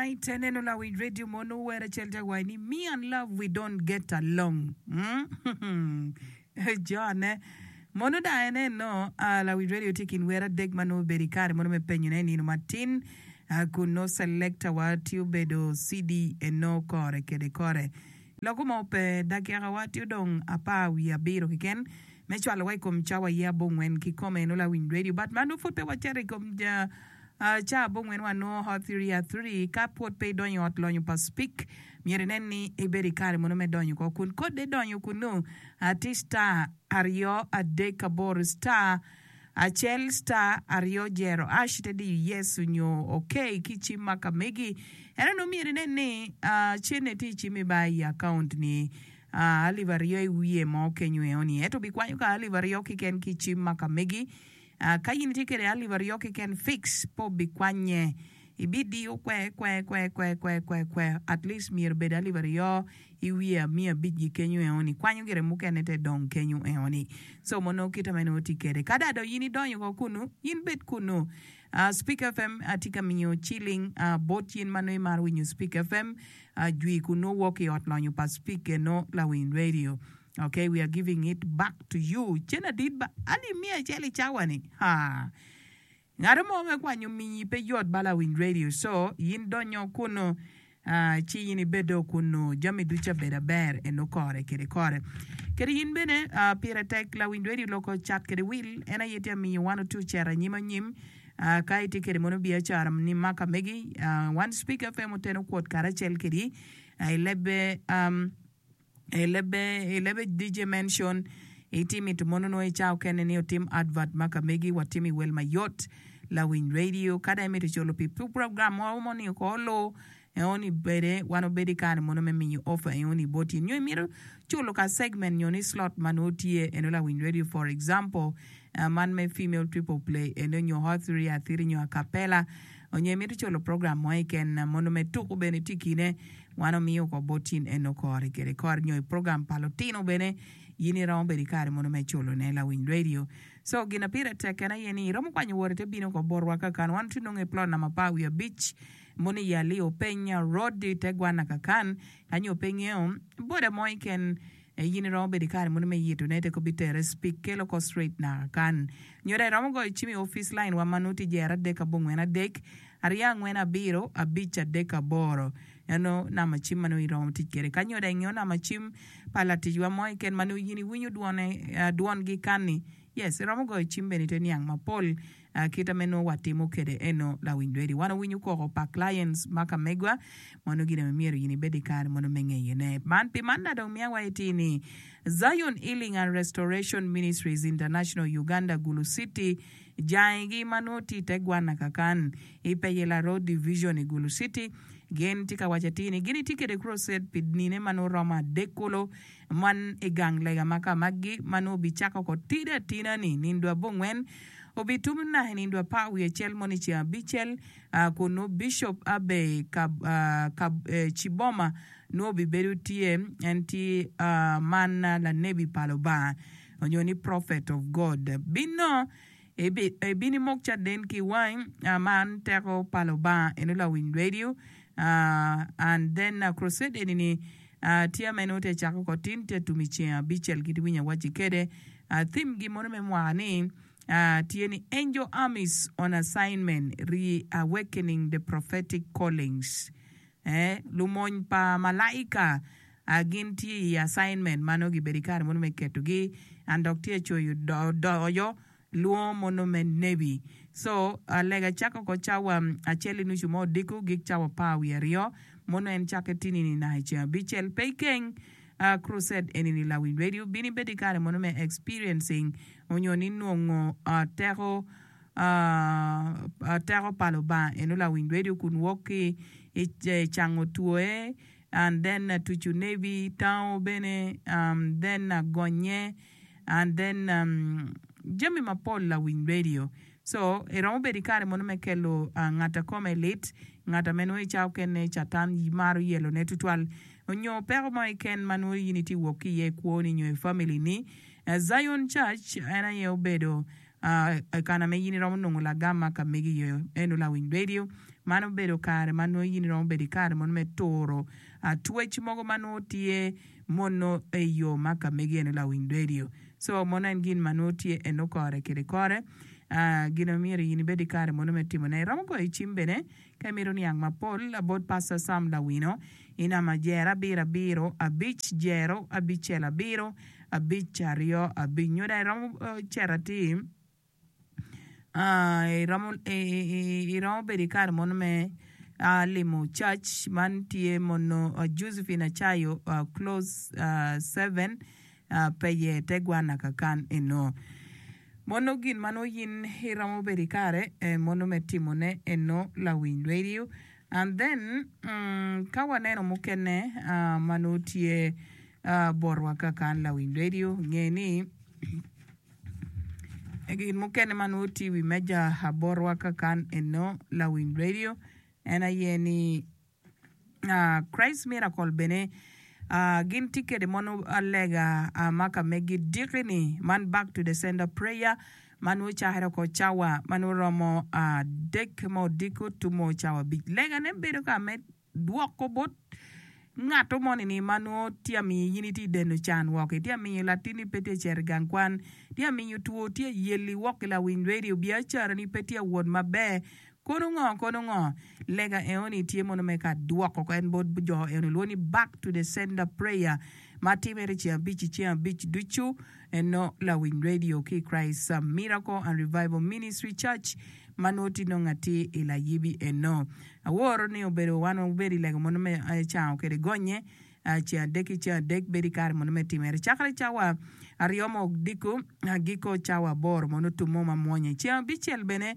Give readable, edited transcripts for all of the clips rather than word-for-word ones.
Tonight aneno lawiny radio mo nongo wer acel tye waci ni me and love we don't get along mm jone mono dong aneno lawiny radio tye i kin wer adek ma nongo obedo i kare mono me penyone i nino matin kun nongo selector wa tye obedo CD eno kore kede kore Loko mo pe, dakikawa tye odong apar wiye abiro keken me cwalowa i kom cawa aye abongwen kikome nongo lawiny radio but ma nongo pwod pe wacito i kom ca abongwen wa nongo hot three at three ka pwod pe idonyo i ot lonyo pa speak myero inen ni ibedo i kare mono me donyo ko kun kode donyo kunu tye star aryo adek aboro star Acel star aryo jero ash te diyo yes onyo ok ki cim ma ka megi. Ento nongo myero inen ni cene tye i cimmi ba i account ni alip aryo i wiye mo kenyo eoni. Ento bikwanyo ka alip aryo kiken ki cim ma ka megi. Ka in itye kede alip aryo kiken fix pe obikwanye. Ibidiyo kwe kwe kwe kwe kwe kwe kwe at least myero obed alip aryo i wiye amiyo abicgi kenyo eoni, kwanyo gire mukene te dong kenyo eoni. So mo nongo kita me nongo tye kede. Ka da dong in idonyo ko kunu, in bed kunu. Uh, Speak FM atye ka miyo ciling uh, bot in ma nongo imaro winyo Speak FM uh, jwi kunu wok i ot lonyo pa Speak eno lawiny radio. Okay, we are giving it back to you. Cen adit ba alip miya acel i cawa ni. Ha. Ngat mo me kwanyo minyi pe yot ba lawiny radio so yin donyo kunu ci yin ibedo kunu jami ducu abedo aber eno kore kede kore kede yin bene pire tek lawiny radio loko cat kede wil en aye tye amiyo wan otu cero anyim anyim ka itye kede mono biacara ni maka megi wan speak FM oteno kwot karacel kedi i lebbe I lebbe, i lebbe DJ Mention, Iti mito mono nongo i cawa okene ni otim advert ma ka megi wa timo i wel mayot. Lawiny radio, ka dong imito culo pi program mo mo ni oko olu, eoni bede wan obedo i kare mono me miyo offer eoni boti. Nyo imito culo ka segment nyo ni slot ma nongo tye eno lawiny radio for example, man me female triple play eno nyo hot three athiri nyo acapella onyo imito culo program mo keken mono me tuku bene tye i kine. Wan omiyo ko bot in eno kore kede kore nyo i program pa lutino bene in iromo bedo i kare mono me culo ne lawiny radio. So gin a pire tek en aye ni iromo kwanyo wot ite bino ko botwa kakan wan tye nongo i plot namba apar wiye abic mono i Aliyo Peny Road i te gwana kakan ka nyo pe ingeyo boda mo iken in iromo bedo i kare mono me yito ne te ko bitere speak kelo ko straight naka kan nyo dong iromo goyo cim i office line wa ma nongo tye jero adek abongwen adek Aryo angwen abiro abic adek aboro eno namba cim ma nongo iromo tic kwede. Ka nyo dong ingeyo namba cim pa laticwa mo keken ma nongo in iwinyo dwone dwongi kanni, yes iromo goyo cim bene ite niang mapol kita me nongo watimo kwede eno lawiny ready. Wan wawinyo koko pa clients ma ka megwa ma nongo gin aye myero in ibed ki kare mono me ngeyone. Man pi man na dong miya wa iti ni Zion Healing and Restoration Ministries International Uganda Gulu City Jangigi ma nongo tye i te gwanna kakan i Peyela Road Division i Gulu City gin tye ka waco atir ni gin itye kede crusade pi nine ma nongo romo adek kulu man i gang lega ma ka maggi ma nongo obicako ko tidi atina ni nindo abongwen obitum naka i nindo apar wiye acel mono i ceng abicel kun nongo Bishop Abbey Ciboma nongo obibedo tye en tye man lanebi pa Lubanga. Onyo ni prophet of God. Bino ibino imok caden ki wangi man teko pa Lubanga eno lawiny radio and then crusade eni ni tye ma nongo tye cako ko tin tye tum i ceng abicel kit iwinyo awaci kede theme gi mono me mwaka ni tye ni angel armies on assignment re-awakening the prophetic callings. Ee, lumony pa malaika gin tye i assignment ma nongo gibedo i kare mono me ketogi and dok tye coyo doyo lwongo mono me nebi. So, lega cako ko cawa acel i nucu mo odiko gik cawa apar wiye aryo mono en cakke tini ni naka i ceng abicel. Pe ikeng crusade eni ni lawiny radio bin ibed i kare mono me experiencing onyo ni nongo teko Teko pa Lubanga eno lawiny radio kun wok ki i cango twoe and then tucu nebi tango bene then gonye and then jami mapol lawiny radio so iromo bedo i kare mono me kelo ngat a kome lit ngat ame nongo i cawa okene catan maro yelo ne tutwal onyo peko mo keken ma nongo in itye wok ki iye i kwoni nyo i family ni Zion church en aye obedo. I kana ma in iromo nongo lagam ma ka megi iye eno lawiny radio. Man obedo kare ma nongo in iromo bedo i kare mono me turo twec mogo ma nongo tye mono i yo ma ka megi eno lawiny radio. So mono en gin ma nongo tye eno kore kede kore. Gin ma myero in ibed i kare mono me timo ne. Iromo goyo cim bene ka imito niang mapol bot Pastor Sam Lawino i namba jero abiro abiro abic jero abicel abiro 5 25 nyo dong iromo cito atir iromo bedo i kare mono me limo cac man tye mono Josephine Acayo close 7 peye te gwana kakan eno mono gin ma nongo in iromo bedo i kare mono me timone eno lawiny radio and then ka waneno mukene ma nongo tye botwa kakan lawiny radio nge ni gin mukene ma nongo tye i wi meja botwa kakan eno lawiny radio en aye ni Christ Miracle bene gin tye kede mono lega ma ka megi diki ni man back to the sender prayer ma nongo cakere oko cawa ma nongo romo adek me odiko tumo cawa abic lega ne bedo ka me dwoko bot ngato moni-ni ma nongo tye ka miyo in itye ka deno can woko, itye ka miyo latinni pe tye ka cito i gang kwan, tye ka miyo two tye ka yeli woko ki lawiny redio, biacarani pe tye ka wot maber, kono ngo kono ngo? Lega enoni tye mono me ka dwoko en bot jo enoni lwongo ni back to the sender prayer ma timere i ceng abic i ceng abic ducu eno lawiny redio ki i Christ Miracle and Revival Ministry Church ma nongo tye nongo atir i layibi eno. Aworo ni obedo wan wabedo i lego mono me cango kede gonye ceng adek ki ceng adek bedo i kare mono me timere cakre cawa aryo me odiko agiko cawa aboro mono otumo ma mwonye. Ceng abicel bene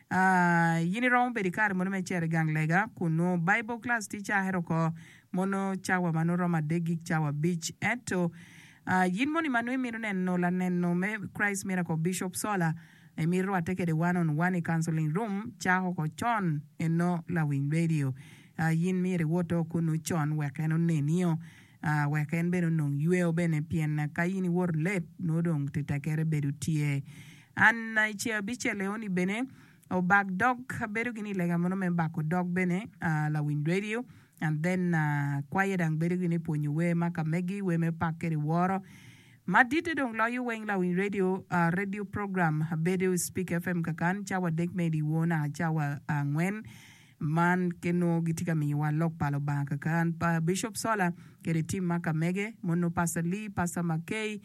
in iromo bedo i kare mono me cito i gang lega kun nongo Bible class tye cakere oko mono cawa ma nongo romo adek gik cawa abic ento in moni ma nongo imito neno laneno me Christ Miracle Bishop Sola Imito rwatte kede one on one i counseling room cako ko con eno lawiny radio. Yin myero iwot o kunu con wek en onenio wek en bene onong yweo bene pien ka yin iwoto late nongo dong tetekere bedo tye. An i ceng abicel eoni bene obak dog abedo gini i lega mono me bako dog bene lawiny radio and then kwaye dang bedo gini pwonyo wer ma ka megi wer me pak kede woro. Maditte dong loyo weng lawiny radio, radio program bedo i Speak FM kakan cawa adek me dyewor naka cawa angwen. Man ki nongo gitye ka miyowa lok pa Lubanga kakan. Pa Bishop Sola kede team ma ka mege, mono Pastor Lee, Pastor McKay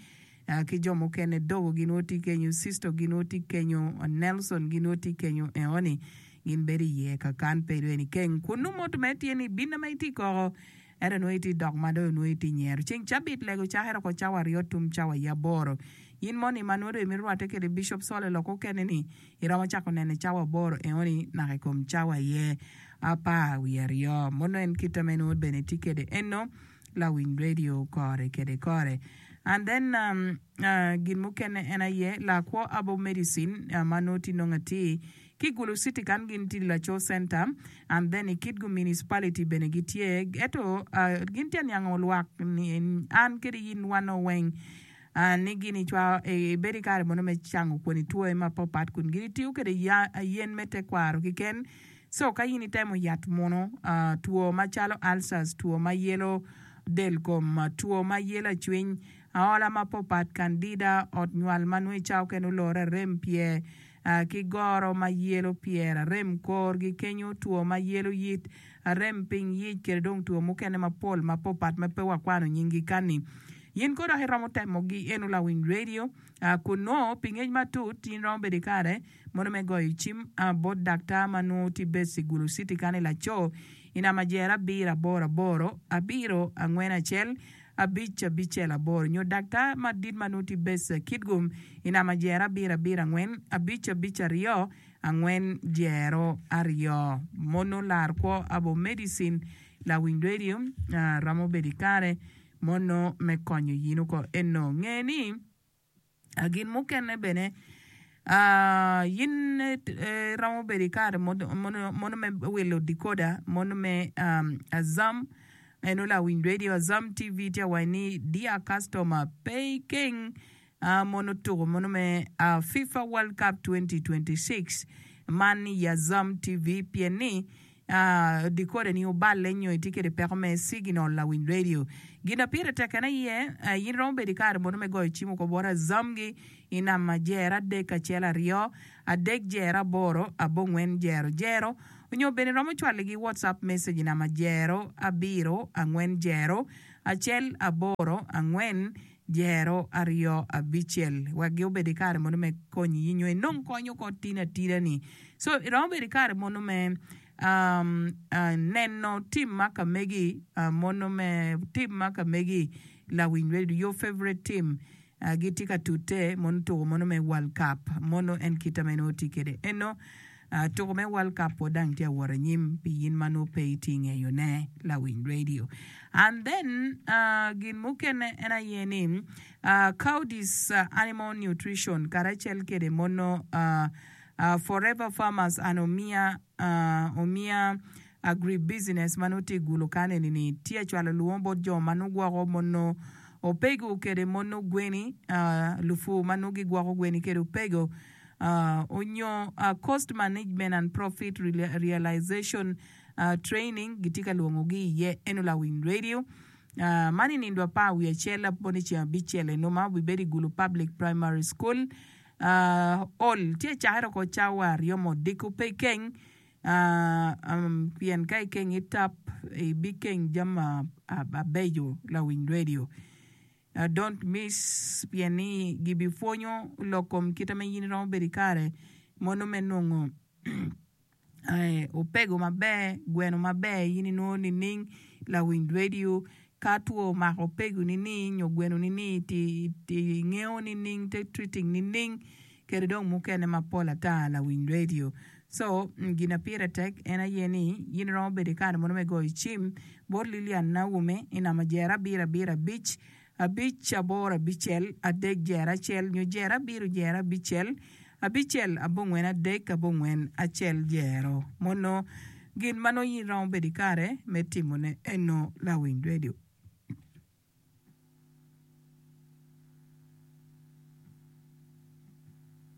ki jo mukene Dogo gin nongo tye kenyo, Sisto gin nongo tye kenyo, Nelson gin nongo tye kenyo enoni gin bedo iye kakan pe dong keng. Kunu mot me tye ni binna ma itye koko. Ento nongo itye dok ma dong nongo itye nyero. Ceng cabit lego cakere oko cawa aryo tum cawa i aboro. In moni ma nongo dong imito rwatte kede Bishop Sole lok okene ni iromo cako nene cawa aboro enoni naka ikom cawa aye apar wiye aryo. Mono en kite ma inongo bene itye kede eno lawiny radio kore kede kore. And then gin mukene en aye lakwo Herbal Medicine ma nongo tye nongo atir Ki i Gulu City kan gin tye i Laco Center and then i Kitgum Municipality bene gitye ento gin tye aniango lwak ni an kede in wan nongo weng ni gin icwako ibedo i kare mono me cango kwoni twoye mapapat kun gin itiyo kede yen me tekwaro keken so ka in itemo yat munu two macalo ulcers, two ma yelo del kom, two ma yelo acwiny, aola mapapat, candida, ot nywal ma nongo i cawa okene olore arem pyer ki goro ma yelo pyer, arem korgi kenyo, two ma yelo yit, arem piny yic kede dong two mukene mapol mapopat ma pe wakwano nyinggi kani. Yin ko dok iromo temogi eno lawiny radio kun nongo pi ngec matut in romo bedo ikare mono me goyo cim bot daktar ma nongo tye based i Gulu City kani laco i namba jer abiro aboro aboro abiro angwen acel abic abicel aboro nyo daktar madit ma nongo tye base Kitgum i namba jero abiro abiro angwen abic abic aryo angwen jero aryo. Mono lar kwo abo medicine lawiny radio romo bedo ikare mono me konyo yin oko eno. Nge ni Gin mukene bene, in iromo bedo i kare mono me wilo decoder mono me Azam eno lawiny radio Azam TV tye ka waco ni dear customer pe ikeng. Mono tuko mono me FIFA World Cup 2026 man i Azam TV pien ni decoder ni oballe nyo itye kwede peko me signal lawiny radio. Gin ma pire tek en aye in iromo bedo i kare mono me goyo cim oko bot Azam gi i namba jero adek acel aryo adek jero aboro abongwen jero jero onyo bene iromo cwalo gi WhatsApp message i namba jero abiro angwen jero acel aboro angwen jero aryo abicel wek gi obed i kare mono me konyi nyo inong kony oko tin atida ni. So iromo bedo i kare mono me um, uh, neno tim ma ka megi uh, mono me tim ma ka megi lawiny radio your favorite team uh, gitye ka tute mono tuko mono me World Cup mono en kita ma inongo tye kwede eno Tuko me World Cup pwod dang tye awot anyim pi in ma nongo pe itye ngeyo ne lawiny radio. And then gin mukene en aye ni Coudis Animal Nutrition karacel kede mono Forever Farmers and Omiya Omiya Agribusiness ma nongo tye i Gulu kan eni ni tye acwalo lwongo bot jo ma nongo gwoko mono opego kede mono gweni lupur ma nongo gigwoko gweni kede opego onyo Cost Management and Profit Realization Training gitye ka lwongogi iye eno lawiny radio man i nindo apar wiye acel aponi ceng abicel eno ma obibedo i Gulu Public Primary School Hall tye acakere oko cawa aryo me odiko pe ikeng pien ka ikeng itap ibikeng jami mabeco lawiny radio. Don't miss pien ni gibipwonyo lok kom kite ma in iromo bedo ikare mono me nongo opego maber, gweno maber in inongo nining lawiny radio ka two omako opego ni ni nyo gweno ni ni ti ingeyo nining te treating nining kede dong mukene mapol ata lawiny radio so gina pire tek en aye ni in iromo bedo ikare mono me goyo cim bot Lilian Naume i namba jero abiro abiro abic abic aboro abicel adek jero acel nyo jero abiro jero abicel abicel abongwen adek abongwen acel jero mono gin ma nongo in iromo bedo ikare me timone eno lawiny radio.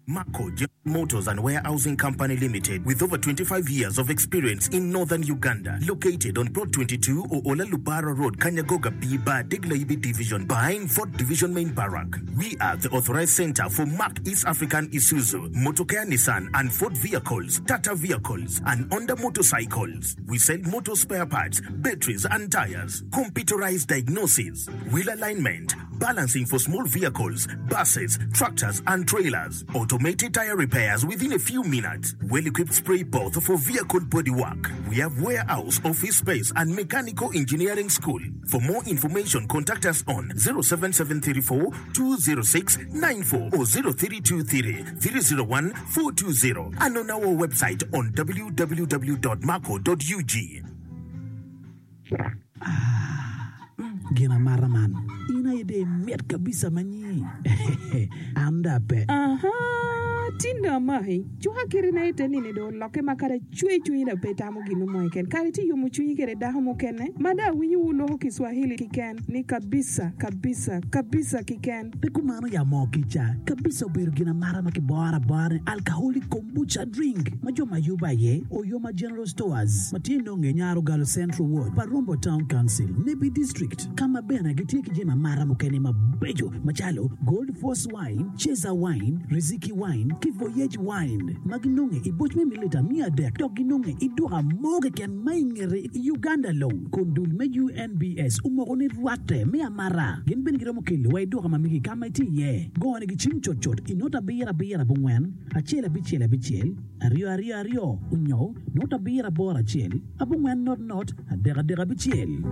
Mako General Motors and Warehousing Company Limited with over 25 years of experience in Northern Uganda located on Plot 22 Oola Lubara Road Kanyagoga B Bar Degla-Ibi Division behind Fort Division Main Barrack. We are the authorized center for Mack East African Isuzu, Motokea Nissan and Ford vehicles, Tata vehicles and Honda motorcycles. We sell motor spare parts, batteries and tires, computerized diagnosis, wheel alignment, balancing for small vehicles, buses, tractors and trailers, automated tire repairs within a few minutes, well-equipped spray booth for vehicle body work. We have warehouse, office space and mechanical engineering school. For more information contact us on 07734 206 94 or 0323 301 420 and on our website on www.marco.ug. Ah, gin amata man. In aye dong imit kabisa ma nyi. An dong ape. Aha, tin dong amaki. Cuka kiti na ite nini dong olokke ma kadi acwe cwinyi dong pe itamo gin mo keken. Kadi itye yomo cwinyi kede dako mukene ma dong awinyo wu loko Kiswahili kiken ni kabisa, kabisa, kabisa kiken. Pe kumano ya moo kica. Kabisa obedo gin amata ma kiboro abora ni alcoholic kombucha drink ma jo ma yubo aye Oyoma General Stores ma tye nonge i Nyarogalo Central Ward pa Rombo Town Council, Nebbi District ka ma bene gitye ki jami amata mukene mabeco macalo Gold Force Wine, Ceza Wine, Riziki Wine ki Voyage Wine ma ginonge i boc me mililita 300 dok ginonge i duka mo keken ma i ngete i Uganda long kun dul me UNBS omoko ni rwatte me amata. Gin bene giromo kelo wa i duka ma megi ka ma itye iye. Gone gi cim cutcut i not abiro abiro abongwen, acel abicel abicel, aryo aryo aryo, onyo not abiro aboro acel, abongwen not not, adek adek abicel.